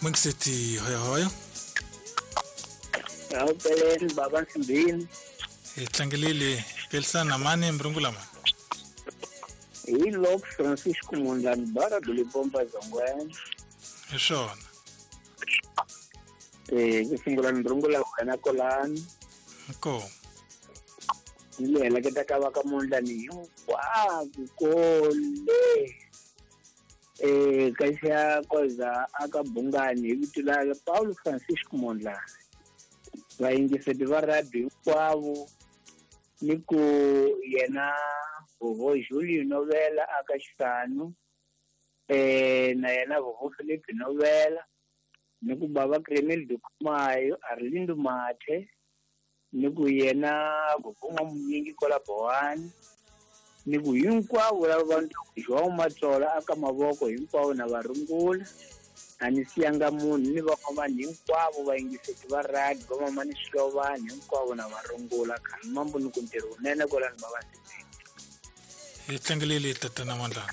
Mungiseti hoyohoyo. Ahupeleni baba Nsimbini. Hi tlangelile pelisana mani mrungula mani. Hi Lok Francisco Mondlane bara Dulipompa Zongweni. Hi swona. Ku sungula ni rungula wena kolani. Inkomu. Ni le heleketa ka va ka Mondlane hinkwako kole. Ka xa koza aka Bungani hi vito la Paulo Francisco Mondlane. Vayingiseti va rugby hinkwavo ni ku yena Vovo Julio Novela aka Xisanu, na yena Vovo Felipe Novela, ni ku bava Kremel Dukumayo, Arlindo Mathe, ni ku yena Vovo N'wamunyingi kwala Bowani, ni ku hinkwavo lava va João Matsola aka mavoko hinkwavo na varungula. A ni siyanga munhu ni van'wamani hinkwavo vayingiseti va rugby, van'wamani swilovani hinkwavo na varungula. Khani mambo ni ku ntirho wunene kwalani va va sivile. Hi tlangelele tatana Mondlane.